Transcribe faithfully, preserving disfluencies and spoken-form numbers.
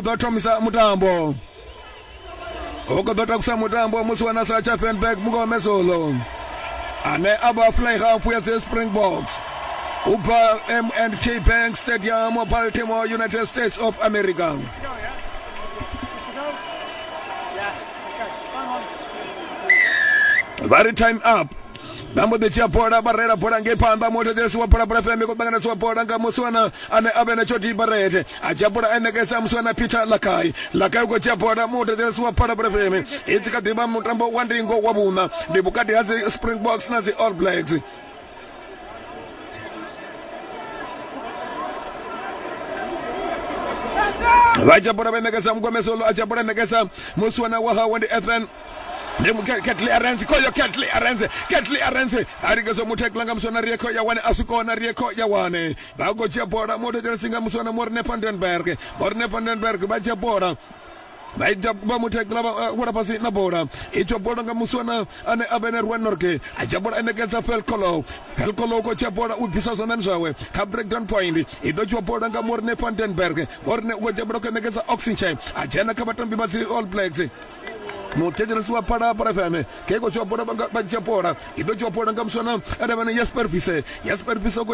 Ḓo thomisa mutambo, u khou ḓo takusa mutambo musi wa Sacha Feinberg Mngomezulu, ane a vha fly half ya dzi Springboks u bva M and T Bank Stadium, Baltimore, United States of America. Vha ri time up. Vha mbo ḓi dzhia bola, vha reila bola ngei phanḓa. Muthetshelesi wa Phalaphala F M, khou ṱanganesiwa bola nga musiwana ane a vhe na Jody Barrett. A dzhia bola a ṋekedza musiwana Peter Lakai. Lakai u khou dzhia bola. Muthetshelesi wa Phalaphala F M, i tshi kha ḓivha mutambo wa ndingo wa vhuṋa, ndi vhukati ha dzi Springboks na dzi All Blacks. Vha dzhia bola vha ṋekedza Mngomezulu, a dzhia bola ṋekedza musiwana wa hawe ndi Ethan, ndi Ketli Arenze. Khoyo Ketli Arenze, Ketli Arenze a lingedza mu tackle nga muswana Rieko ya wane, a si kona. Rieko ya wane vha khou dzhia bola. Muthetshelesi nga muswana Morne van den Berg, Morne van den Berg vha dzhia bola, vha ita vha mu tackle, vha wela fhasi na bola. I dzhia bola nga muswana ane a vha na Ruan Norge, a dzhia bola a ṋekedza Felcolo. Felcolo u khou dzhia bola, u bvisa zwanḓani zwawe kha breakdown point. I ḓo dzhiwa bola nga Morne van den Berg. Morne u khou dzhia bola, khou ṋekedza Oxenshire, a dzhena kha vhatambi vha dzi All Blacks. Muthetshelesi wa Phalaphala F M, ke khou dzhiwa bola, vha dzhia bola. I ḓo dzhiwa bola nga muswana ane vha na Jasper Vise. Jasper Vise.